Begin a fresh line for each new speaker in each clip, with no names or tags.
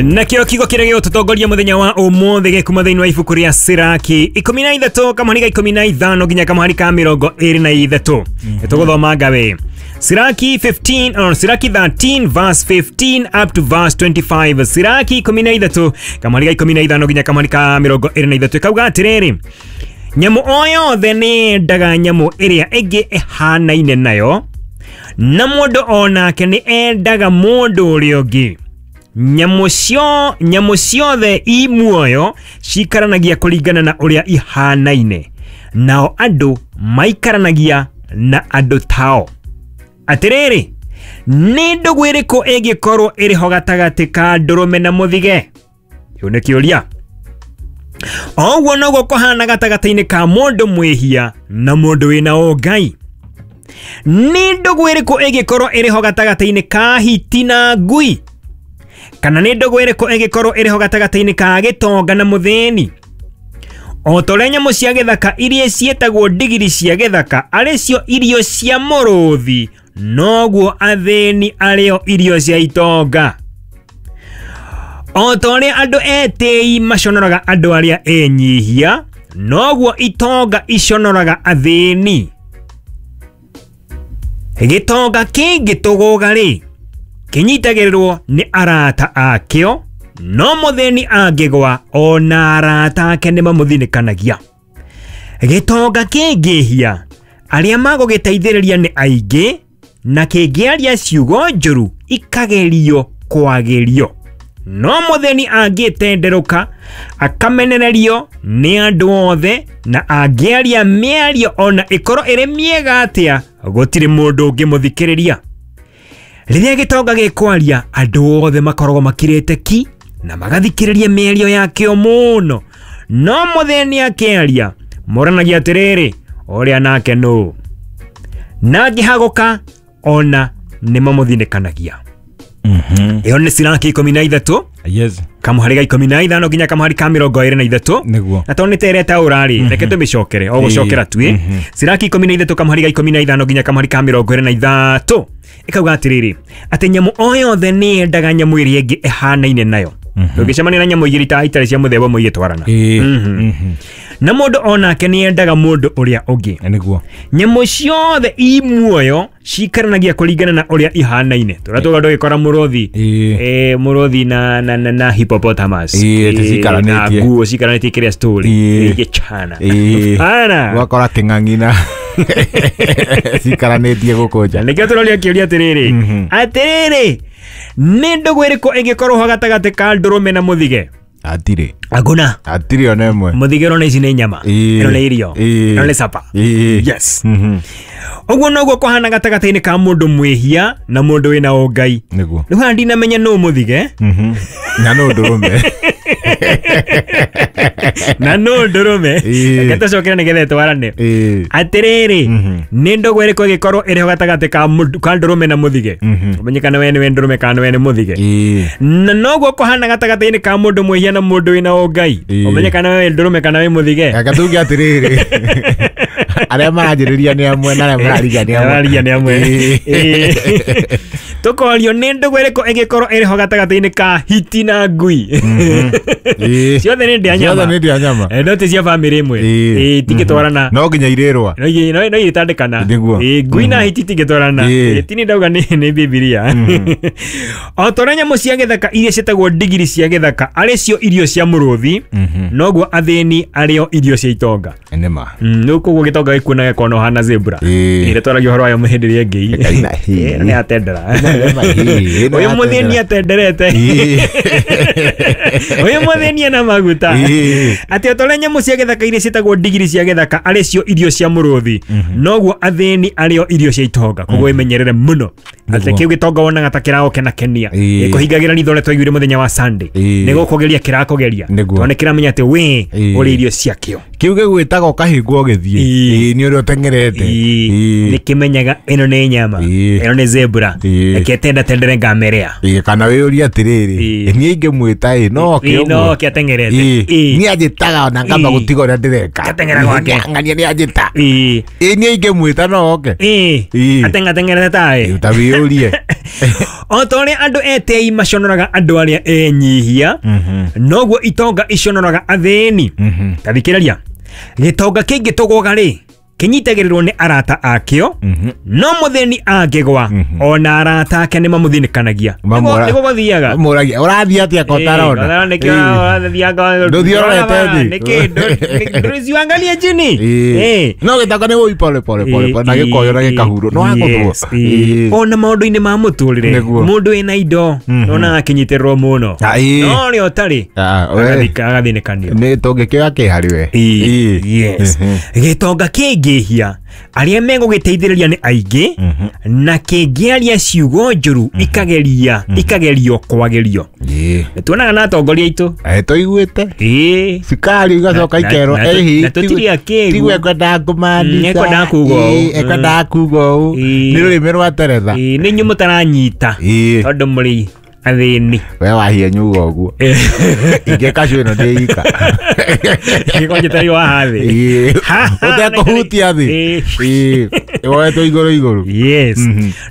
Nakĩo kiugo kĩrĩa gĩgũtũtongoria mũthenya wa ũmũthĩ gĩkuma thĩinĩ wa ibuku rĩa Siraki 13 kamũhari ga 15 nginya kamũhari ka 23. Tũgũthoma ngawe Siraki 15 or Siraki 13 verse 15 up to verse 25. Siraki 13 kamũhari ga 15 nginya kamũhari ka 23 kauga atĩrĩrĩ, nyamũ o yothe nĩ yendaga nyamũ ĩrĩa ĩngĩ ĩhanaine nayo, na mũndũ o nake nĩ endaga mũndũ ũrĩa ũngĩ. Nyamũ ciothe i muoyo cikaranagia kũringana na ũrĩa ihanaine, nao andũ maikaranagia na andũ tao. Atĩrĩrĩ, nĩ ndũgũ ĩrĩkũ ĩngĩkorwo ĩrĩ ho gatagatĩ ka ndũrũme na mũthige? Kĩu nĩ kĩũria. O ũguo noguo kũhana gatagatĩ-inĩ ka mũndũ mwĩhia na mũndũ wĩna ũngai. Nĩ ndũgũ ĩrĩkũ ĩngĩkorwo ĩrĩ ho gatagatĩ-inĩ ka hiti na ngui? Kana nĩ ndũgũ ĩrĩkũ ĩngĩkorwo ĩrĩ ho gatagatĩ-inĩ ka gĩtonga na mũthĩni? O ta ũrĩa nyamũ cia gĩthaka iria ciĩtagwo ndigiri cia gĩthaka arĩ cio irio cia mũrũthi, noguo athĩni arĩo irio cia itonga. O ta ũrĩa andũ etĩi maconoraga andũ arĩa enyihia, noguo itonga iconoraga athĩni. Gĩtonga kĩngĩtũgũga rĩ, kĩnyitagĩrĩrwo nĩ arata akĩo, no mũthĩni angĩgwa ona arata ake nĩ mamũthinĩkanagia. Gĩtonga kĩngĩhia, arĩa magũgĩteithĩrĩria nĩ aingĩ, na kĩngĩaria ciugo njũru ikagerio kwagĩrio. No mũthĩni angĩtenderũka akamenererio nĩ andũ othe, na angĩaria mĩario ona ĩkorwo ĩrĩ mĩega atĩa, gũtirĩ mũndũ ũngĩmũthikĩrĩria. Rĩrĩa gĩtonga gĩkwaria, andũ othe makoragwo makirĩte ki na magathikĩrĩria mĩario yakĩo mũno. No mũthĩni akĩaria, moranagia atĩrĩrĩ, ũrĩa nake nũ? Na angĩhagũka ona nĩ mamũthinĩkanagia. Ĩyo nĩ Siraki 13
Yes.
kamũhari ga 15 nginya kamũhari ka 23.
Nĩguo.
Na tondũ nĩ tereta ũrarĩ, reke tũmĩcokere o gũcokera tuĩ. Siraki 13 kamũhari ga 15 nginya kamũhari ka 23 ĩkauga atĩrĩrĩ, atĩ nyamũ o yothe nĩ yendaga nyamũ ĩrĩa ĩngĩ ĩhanaine nayo. Ndũngĩcemania na nyamũ igĩrĩ ta itarĩ cia mũthemba ũmwe igĩtwarana. Na mũndũ o nake nĩ yendaga mũndũ ũrĩa ũngĩ.
Nĩguo.
Nyamũ ciothe i muoyo cikaranagia kũringana na ũrĩa ihanaine. Tũrĩa tuga ndũgĩkora mũrũthi, mũrũthi na hippopotamus.
Ĩ, ticiikaranĩtie.
Na nguo cikaranĩtie kĩrĩa story. Igĩchana. Ana.
Ũgakora kĩng'ang'i na cikaranĩtie gũkũ nja.
Na nĩkĩo tũroria kĩũria atĩrĩrĩ, atĩrĩrĩ, nĩ ndũgũ ĩrĩkũ ĩngĩkorwo ho gatagatĩ ka ndũrũme na mũthige?
Hatirĩ.
Hakuna.
Hatirĩ ona ĩmwe.
Mũthige ũrona ici nĩ nyama, ĩno nĩ irio, ĩno nĩ sapa. Yes. Ũguo noguo kũhana gatagatĩ-inĩ ka mũndũ mwĩhia na mũndũ wĩna ũngai.
Nĩguo.
Rĩu haha ndinamenya nũ mũthige
Na nũ ndũrũme.
na nũ ndũrũme. Reke tũcokere nĩgetha ĩtwarane. Atĩrĩrĩ, nĩ ndũgũ ĩrĩkũ ĩngĩkorwo ĩrĩ ho gatagatĩ ka ndũrũme na mũthige? Ũmenye kana we nĩwe ndũrũme kana we nĩ mũthige. Na noguo kũhana gatagatĩ-inĩ ka mũndũ mwĩhia na mũndũ wĩna ũngai. Ũmenye kana we ndũrũme kana wĩ mũthige.
Reke tuge atĩrĩrĩ, arĩa maranjĩrĩria nĩ amwe na arĩa mararigia nĩ amwe.
Mararigia nĩ amwe. Tũkorio nĩ ndũgũ ĩrĩkũ ĩngĩkorwo ĩrĩ ho gatagatĩ-inĩ ka hiti na ngui? Ciothe nĩ ndĩa nyama.
Ciothe nĩ ndĩa nyama.
No ti cia bamĩrĩ ĩmwe. Itingĩtwarana.
No nginya irĩrwa.
No igĩtandĩkana.
Nĩguo.
Ngui na hiti itingĩtwarana. Ti nĩ ndauga nĩ Bibilia. O ta ũrĩa nyamũ cia gĩthaka iria ciĩtagwo ndigiri cia gĩthaka arĩ cio irio cia mũrũthi, noguo athĩni arĩo irio cia itonga.
Nĩma.
Rĩu koguo gĩtonga gĩkuona gĩkona ũhana zebra. Ĩrĩa twaragia ũhoro wayo hĩndĩ ĩrĩa ĩngĩ.
Ĩno
Nĩ atendera. Ũyũ mũthĩni atenderete. Ũyũ mũthĩni ena maguta. Atĩ o ta ũrĩa nyamũ cia gĩthaka iria ciĩtagwo ndigiri cia gĩthaka arĩ cio irio cia mũrũthi, noguo athĩni arĩo irio cia itonga. Koguo wĩmenyerere mũno. Atĩ kĩu gĩtonga wonaga ta kĩragũkenakenia, kũhingagĩra ritho ũrĩa twaiguire mũthenya wa Sunday, nĩ gũkũgeria kĩrakũgeria, tondũ nĩ kĩramenya atĩ we ũrĩ irio ciakĩo.
Kĩu gĩgwĩtaga ũkahĩngwo ũgĩthiĩ. Nĩ ũrĩa ũteng'erete.
Nĩ kĩmenyaga ĩno nĩ nyama, ĩno nĩ zebra, reke tenda tendere ngamerea.
Kana wĩyũrie atĩrĩrĩ, niĩ ingĩmwĩta ĩ no oke ũguo.
No oke ateng'erete.
Niĩ anjĩtaga ona ngamba gũtiga ũrĩa ndĩreka.
Ngateng'era gwake.
Ng'ania nĩ anjĩta. Niĩ ingĩmwĩta no oke.
Ateng'ateng'erete taĩ.
Ta wĩyũrie.
O ta ũrĩa andũ etĩi maconoraga andũ arĩa enyihia, noguo itonga iconoraga athĩni. Ta thikĩrĩria, gĩtonga kĩngĩtũgũga rĩ, kĩnyitagĩrĩrwo nĩ arata akĩo, no mũthĩni angĩgwa ona arata ake nĩ mamũthinĩkanagia. Nĩguo gũthiaga.
Mũragia ũrathiĩ atĩa kotarona? Ndũthiĩ ũrorete thĩ.
Nĩkĩ ndũciangalie chini?
No gĩtonga nĩ wũi pole pole pole pole na gĩkoyo na gĩkahurwo no akũthwo.
Ona maũndũ-inĩ ma mũtũrĩre, mũndũ wĩna indo nonaga akĩnyitĩrĩrwo mũno, no ũrĩa ũtarĩ agathinĩkanio.
Nĩ tũngĩkĩoya kĩ harĩ we?
Yes. Gĩtonga kĩngĩhia, arĩa megũgĩteithĩrĩria nĩ aingĩ, na kĩngĩaria ciugo njũru ikageria ikagerio kwagĩrio. Nĩ tuonaga na atongoria aitũ.
Tũiguĩte cukari igacoka ikerwo
na tũtirĩ akĩgu.
Tiguo ekwendaga kũmaanisha.
Ekwendaga kuga ũũ.
Ekwendaga kuga ũũ. Nĩ rũrĩmĩ rwa teretha.
Nĩ inyuĩ mũtaranyita tondũ mũrĩ athĩni.
We wahia nyuga ũguo ingĩka cio ĩno ndĩ ika.
Gĩkonje wa hathĩ.
Ũtekũhutia thĩ woetwo igũrũ igũrũ.
Yes.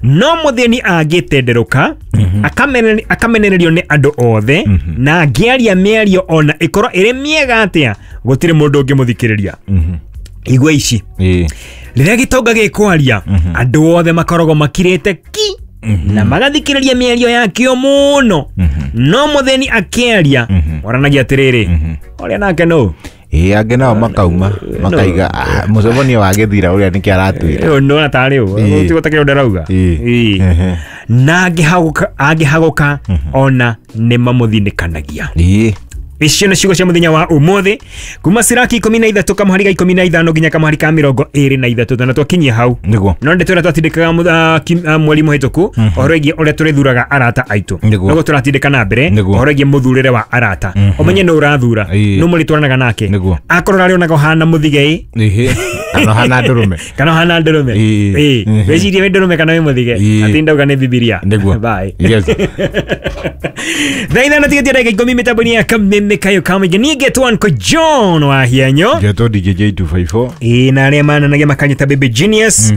No mũthĩni angĩtenderũka akamenererio nĩ andũ othe, na angĩaria mĩario ona ĩkorwo ĩrĩ mĩega atĩa, gũtirĩ mũndũ ũngĩmũthikĩrĩria. Igua ici, rĩrĩa gĩtonga gĩkwaria, andũ othe makoragwo makirĩte ki na magathikĩrĩria mĩario yakĩo mũno, no mũthĩni akĩaria moranagia atĩrĩrĩ, ũrĩa nake nũ?
Angĩ nao makauma makaiga mũcemanio wa gĩthira ũrĩa nĩkĩ aratwĩra.
Nona tarĩ ũ tigo takĩrĩ ũrĩa arauga. Na angĩhagũka ona nĩ mamũthinĩkanagia. Icio nĩ ciugo cia mũthenya wa ũmũthĩ kuma Siraki 13 kamũhari ga 15 nginya kamũhari ka 23, na twakinyia hau.
Nĩguo.
No ndĩtwĩra twatindĩkaga mweri mũhĩtũku ũhoro wĩgiĩ ũrĩa tũrĩthuraga arata aitũ. Noguo tũratindĩka na mbere ũhoro wĩgiĩ mũthurĩre wa arata. Ũmenye nũ ũrathura, nũ mũrĩtwaranaga nake. Akorwo ũrarĩonaga ũhana mũthige
kana ũhana ndũrũme.
Kana ũhana ndũrũme. Wĩcirie wĩ ndũrũme kana wĩ mũthige. Atĩ ndauga nĩ Bibilia.
Nĩguo.
Bye.
Yes.
Thaa ithano tigĩtie ndagĩka 10 mĩtambo-inĩ ya Kameme Kayo Kamũingĩ. Niĩ ngetwo Uncle John wa Hianyo.
Ngetwo DJ J254.
Na arĩa mananagia makanyita Baby Genius.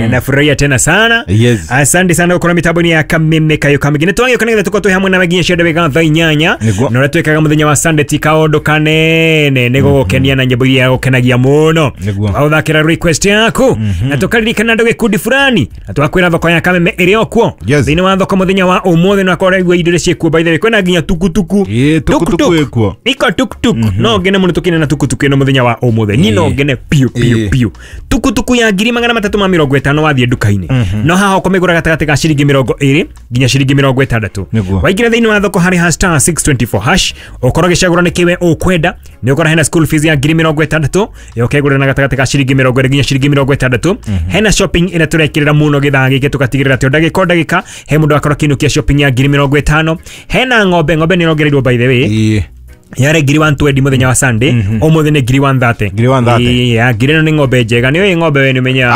Nafurahia tena sana.
Yes.
Asante sana gũkorwo mĩtambo-inĩ ya Kameme Kayo Kamũingĩ. Nĩ twagĩũka nĩgetha tũkorwo twĩ hamwe nawe nginya cia ndagĩka thaa 8.
Nĩguo.
Na ũrĩa twĩkaga mũthenya wa Sunday ti kaũndũ kanene nĩ gũgũkenia na nyĩmbo iria gũkenagia mũno.
Nĩguo.
Tũgathakĩra request yaku na tũkaririkana andũ gĩkundi fulani na twakwĩra thoko ya Kameme ĩrĩ o kuo.
Yes.
Thĩinĩ wa thoko mũthenya wa ũmũthĩ no akorwo igua indo iria ciĩkuo, by the way kwĩna nginya tukutuku.
Tukutuku ĩkuo.
Iko tuktuk. No ngene mũno tũkine na tukutuku ĩno mũthenya wa ũmũthĩ. Niĩ no ngene piũ piũ piũ. Tukutuku ya 350 wathiĩ nduka-inĩ. No haha ũkũmĩgũra gatagatĩ ka ciringi 20 nginya ciringi 60. Waingĩra thĩinĩ wa thoko harĩ ha star 624 hash, ũkorwo ũgĩcagũra nĩ kĩwe ũkwenda. Nĩ ũkora hena school fees ya 60,000, ũkegũrĩra na gatagatĩ ka ciringi 20 nginya ciringi 60. Hena shopping ĩrĩa tũrekĩrĩra mũno gĩthaa gĩkĩ tũgatigĩrĩra atĩ o ndagĩka o ndagĩka he mũndũ akorwo akĩinũkia shopping ya 50,000. Hena ng'ombe, ng'ombe nĩ ĩrongereirwo by the way. Yare 120 mũthenya wa Sunday, ũmũthĩ nĩ 130.
130.
Ya ngiri ĩno nĩ ng'ombe njega. Nĩ ũĩ ng'ombe we nĩ ũmenyaga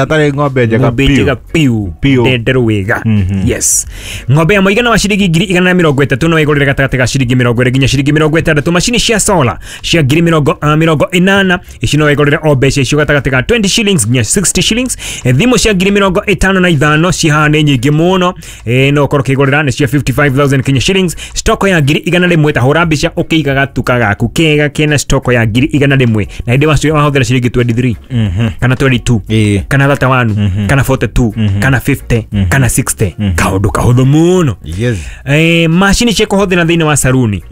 atarĩ ng'ombe njega
ng'ombe njega piũ ndenderũ wega. Yes. Ng'ombe ya mũigana wa ciringi 130,000 no ĩgũrĩre gatagatĩ ka ciringi 20 nginya ciringi 60. Macini cia solar cia 80,000 ici no ĩgũrĩre o mbeca icio gatagatĩ ka 20 shillings nginya 60 shillings. Thimũ cia 55,000 cihaha nĩ nyingĩ mũno, no ũkorwo ũkĩgũrĩra nĩ cia 55,000 Kenya shillings. Stoko ya 100,000 ta hũra mbica ũkĩiga gatuka gaku kega kena stoko ya 100,000 na hĩndĩ wacio wahũthĩra ciringi 23 kana 22 kana 31 kana 42 kana 50 kana 60. Kaũndũ kahũthũ mũno.
Yes.
Macini cia kũhũthĩra thĩinĩ wa saruni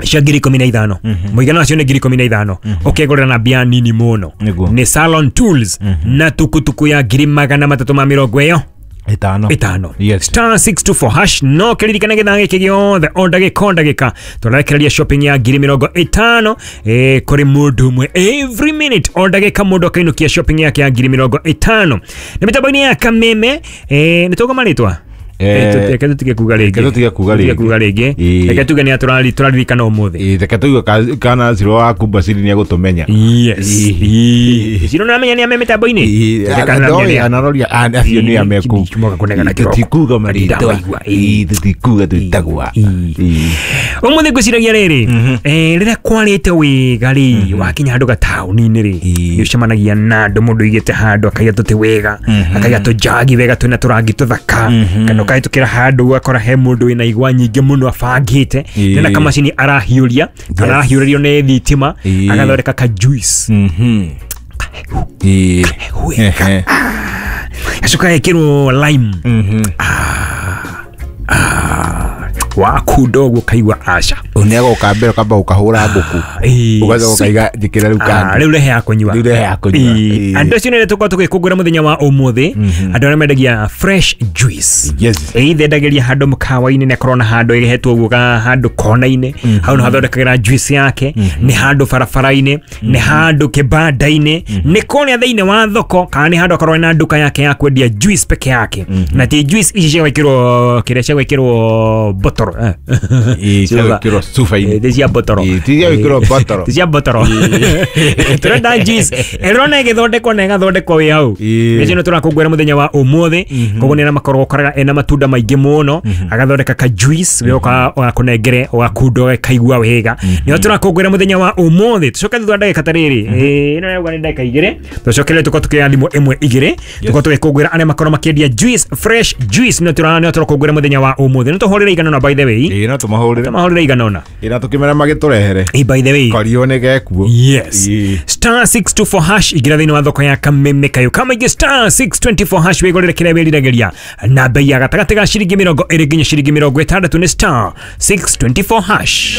cia 15,000 mũigana wacio nĩ 15,000 ũkegũrĩra na mbia nini mũno. Nĩ salon tools na tukutuku ya 350,000 ĩtano.
Yes.
Star 624 hash no kĩririkane gĩthaa gĩkĩ gĩothe o ndagĩka o ndagĩka tũrarekereria shopping ya 50,000 kũrĩ mũndũ ũmwe every minute o ndagĩka mũndũ akainũkia shopping yake ya 50,000. Nĩ mĩtambo-inĩ ya Kameme. Nĩ tũgoma rĩtwa. Reke tũtige kuga rĩngĩ.
Reke tũtige kuga
Tũtige
rĩngĩ.
kuga rĩngĩ.
Ĩĩ.
Reke tuge nĩ tũraririkana ũmũthĩ.
Ĩĩ, reke tuge kana Ciro wa Kumbaciri nĩ egũtũmenya.
Yes.
Ĩĩ.
Ciro nĩũramenya nĩ ame mĩtambo-inĩ?
Ĩĩ,
Reke kana nĩũramenya nĩ a-
anaroria acio nĩ ameku.
Kimoka kũnegana kĩroko.
Tũtikuga marĩtwa.
Ndamaigua, ĩĩ.
Ĩĩ, tũtikuga twĩtagwa.
Ĩĩ.
Ĩĩ.
Ũmũthĩ ngwĩciragia rĩrĩ, rĩrĩa kwarĩte wega rĩ, wakinya handũ gataũni-inĩ rĩ,
Ĩĩ.
nĩ ũcemanagia na andũ, mũndũ ũigĩte handũ akaiga tũtĩ wega, akaiga tũnjagi wega twĩna tũrangi tũthaka, kana ũkahĩtũkĩra handũ ũgakora he mũndũ wĩna igwa nyingĩ mũno abangĩte,
Ĩĩ.
na kamacini arahiũria, kana arahiũrĩrio nĩ thitima,
Ĩĩ.
agathondeka ka juice.
Mhm. Ĩĩ.
Wega.
Ehe.
Gacoka gekĩrwo lime.
Mhm.
Wakunda ũguo ũkaigua aca.
Nĩ agoka mbere ũkamba ũkahũra ngũkũ.
Ĩĩ.
Ũgacoka ũkaiga njĩkĩra rĩu kando.
Rĩu rehe ya kũnyua.
Rĩu rehe ya kũnyua.
Ĩĩ.
Ĩĩ.
Andũ acio nĩ tũkorwo tũgĩkũngũĩra mũthenya wa ũmũthĩ, andũ arĩa mendagia fresh juice.
Yes.
Ĩĩ thendagĩria handũ mũkawa-inĩ, nĩ akorwo na handũ ĩhetwo ũguo ga handũ kona-inĩ, hau nĩ hathondekagĩra juice yake, nĩ handũ barabara-inĩ, nĩ handũ kĩbanda-inĩ, nĩ kũrĩa thĩinĩ wa thoko, kana nĩ handũ akorwo na nduka yake ya kwendia juice peke yake. Na ti juice ici cia gwĩkĩrwo kĩrĩa cia gwĩkĩrwo botoro.
Ĩĩ, cia gwĩkĩrwo cuba-inĩ.
Ĩĩ, ti cia botoro.
Ĩĩ, ti cia gwĩkĩrwo botoro.
Ti cia botoro. Tũrenda juice ĩrona ĩgĩthondekwo na ĩgathondekwo wĩ hau.
Ĩĩ.
Nĩcio nĩ tũrakũngũĩra mũthenya wa ũmũthĩ. Koguo nĩ arĩa makoragwo ũkoraga ena matunda maingĩ mũno, agathondeka ka juice we ũgakũnengere ũgakunda ũgakaigua wega. Nĩo tũrakũngũĩra mũthenya wa ũmũthĩ. Tũcoke thutha wa ndagĩka ta rĩrĩ, ĩno yauga nĩ ndagĩka igĩrĩ, tũcokerere tũkorwo tũkĩoya thimũ ĩmwe igĩrĩ, tũkorwo tũgĩkũngũĩra arĩa makorwo makĩendia juice, fresh juice. Nĩo tũrakũngũĩra mũthenya wa ũmũthĩ. Nĩ tũhũrĩre igana ũna, by the way.
Ĩĩ, no tũmahũrĩre.
Tũmahũrĩre igana ũna.
Ĩĩ, na tũkĩmera magĩtũrehere.
Ĩĩ, by the way.
Korio nĩ gekuo.
Yes.
Ĩĩ.
Star 624 hash igira thĩinĩ wa thoko ya kameme kayo kamaingĩ star 624 hash wĩgũrĩre kĩrĩa wĩriragĩria na bei ya gatagatĩ ga ciringi 20 nginya ciringi 60 nĩ star 624 hash.